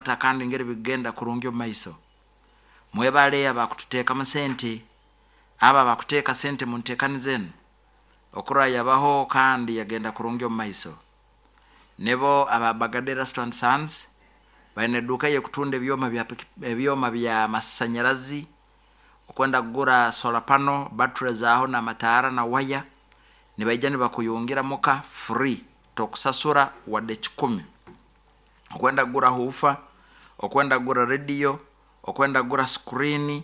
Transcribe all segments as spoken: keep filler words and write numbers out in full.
Kandi ngeri bigenda kurungi omu maiso. Mwebale abakututeekamu sente, abo abakuteeka sente mu nteekaniza enu okurora yabaho kandi yagenda kurungi omu maiso. Nibo aba Bagada Erasto and Sons, baine eduuka ey'ekutunda ebyoma bya ebyoma bya masanyarazi, okwenda kugura solar panel, battery zaaho n'amataara na waya, nibaija nibakuyungira muka free, tokusasura wadde kikumi. Okwenda kugura huufa, okwenda kugura rediyo, okwenda kugura screen,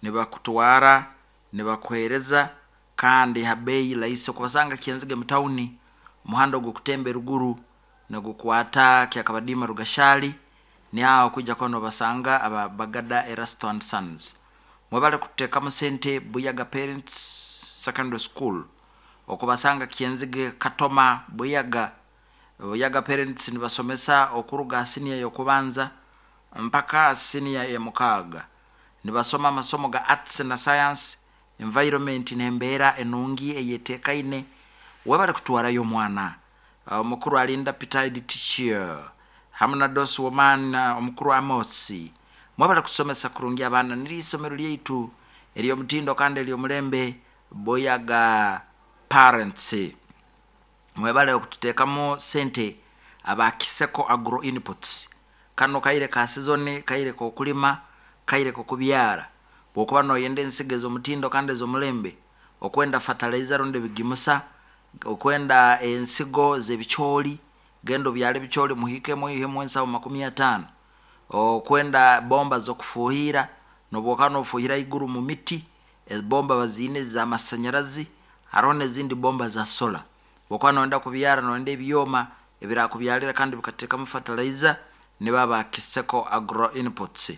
nibakutwara nibakuheereza kandi ha beeyi rahisi. Okubasanga Kyenzige mu tawuni, omuhanda ogukutemba eruguru nigukwata Kyakabadiima Rugashali, niho kwija kuba nobasanga aba Bagada Erasto and Sons. Mwebale kututeekamu sente Buyaga Parents Secondary School, okubasanga Kyenzige Katoma Buyaga. Buyaga Parents nibasomesa okuruga ha siniya y'okubanza mpaka siniya ey'omukaaga. Nibasoma amasomo ga arts na science, environment n'embeera enungi eyeteekaine. Webale kutwarayo omwana. Omukuru alinda Peter head teacher hamu na Dosi Woman omukuru Amos. Mwebale kusomesa kurungi abaana, niryo isomero lyaitu ery'omutindo kandi ery'omulembe Buyaga Parents. Mwebale okututeekamu sente aba Kiseko Agro Inputs. Kano kaire ka sizoni, kaire k'okulima, kaire k'okubyara. Bw'okuba noyenda ensigo ez'omutindo kandi ez'omulembe, okwenda fertilizer rundi ebigimusa, okwenda ensigo z'ebicooli, genda obyale ebicooli muhikemu oihemu ensaho makumi ataano. Okwenda bomba z'okufuuhirra, n'obu okuba nofuuhira haiguru mu miti, ebomba baziine ez'amasanyarazi, haroho n'ezindi bomba za solar. Bw'okuba noyenda kubyara noyenda ebyoma ebirakubyalira kandi bikateekamu fertilizer, nibo aba Kiseko Agro Inputs.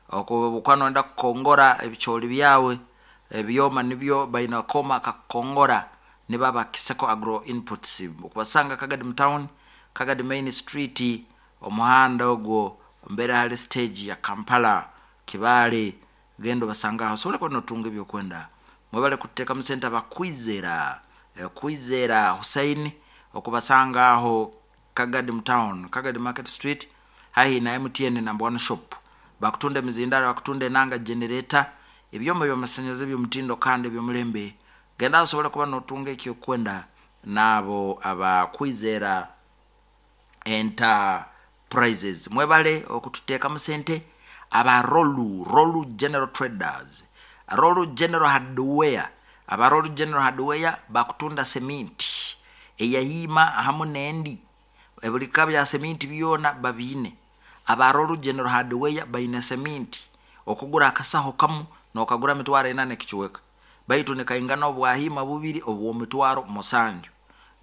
Obu okuba noyenda kukongora ebicooli byawe, ebyoma nibyo baine akooma akakukongora, nibo aba Kiseko Agro Inputs. Okubasanga Kagadi mu town, Kagadi Main Street, omuhanda ogwo mbere hali stage ya Kampala Kibaale, genda obasanga aho osobole kuba notunga ebyokwenda. Mwebale kututeekamu sente aba Kwizera, Kwizera Hussein, okubasanga aho Kagadi mu town, Kagadi Market Street, haihi na M T N number one shop. Bakutunda emizindaro, bakutunda enanga, generator, ebyoma by'amasanyarazi eby'omutindo kandi eby'omulembe. Genda aho osobole kuba notunga ekyokwenda n'abo aba Kwizera Enterprises. Mwebale okututeekamu sente aba Rolu, Rolu General Traders, Rolu General Hardware. Aba Rolu General Hardware bakutunda seminti eyahiima hamu n'endi, buli bika bya seminti byona babiine. Aba Rolu General Hardware baine seminti, okugura akasaho kamu nokagura mitwaro ena n'ekicweka, baitu nikaingana obwahiima bubiri obw'omitwaro musanju.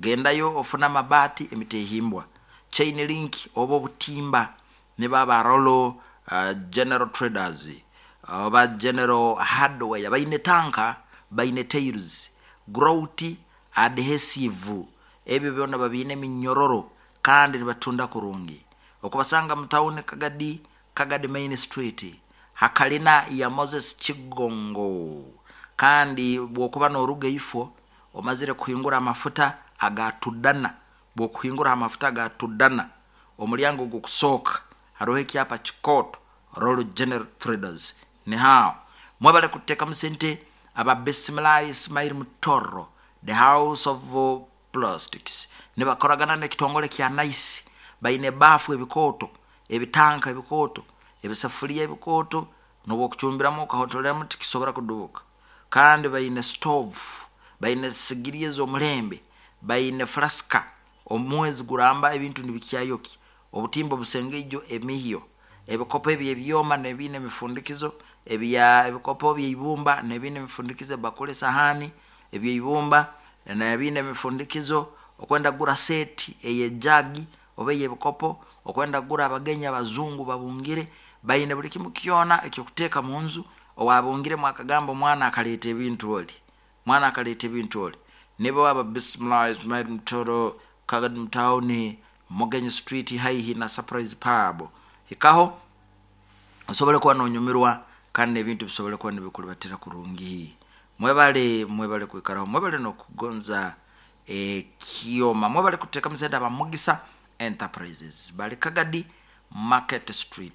Gendayo ofune amabaati, emitehimbwa, chain link oba obutimba, nibo aba Rolu uh, General Traders oba General Hardware. Baine tanka, baine tiles, grout, adhesive, ebyo byona babiine, eminyororo, kandi nibatunda kurungi. Okubasanga mu tawuni Kagadi, Kagadi Main Street, hakalina ya Moses Kigongo. Kandi bwokuba noruga ifo omazire kuhingura amafuta aga Tudana, bwokuhingura amafuta aga Tudana, omulyango gukusooka hariho ekyapa kikooto, Rolu General Traders, nihaaho. Mwebale kututeekamu sente aba Bisimilahi Ismail Mutoro, the House of Plastics, nibakoragana n'ekitongole kya Nice. Baine baafu ebikooto, ebitanka ebikooto, ebisafuliya ebikooto, n'obwokucumbiramu okahotoleramu tikisobora kudubuka. Kandi baine stove, baine sigiri ez'omulembe, baine flaska, omwezi guramba ebintu nibikyayokya, obutimba obusengeijo, emihyo, ebikopo eby'ebyoma nebiine emifundikizo, ebya ebikopo by'eibumba nebiine emifundikizo, ebakuli, esahani eby'eibumba nebiine emifundikizo. Okwenda kugura seeti ey'ejagi oba ey'ebikopo, okwenda kugura abagenyi abazungu babungire, baine buli kimu kyona ekyokuteeka mu nju. Owabungiremu akagamba omwana akaleeta ebintu, oli mwana akaleeta ebintu oli. Nibo aba Bisimilahi Ismail Mutoro, Kagadi mutawuni, Mugenyi Street, haihi na Surprise Pub. Hikaho osobole kuba nonyumirwa kandi n'ebintu bisobole kuba nibikulibatira kurungi. Mwebale, mwebale kwikaraho, mwebale n'okugonza ekyoma. Mwebale kuteekamu sente aba Mugisa Enterprises, bali Kagadi. Market Street.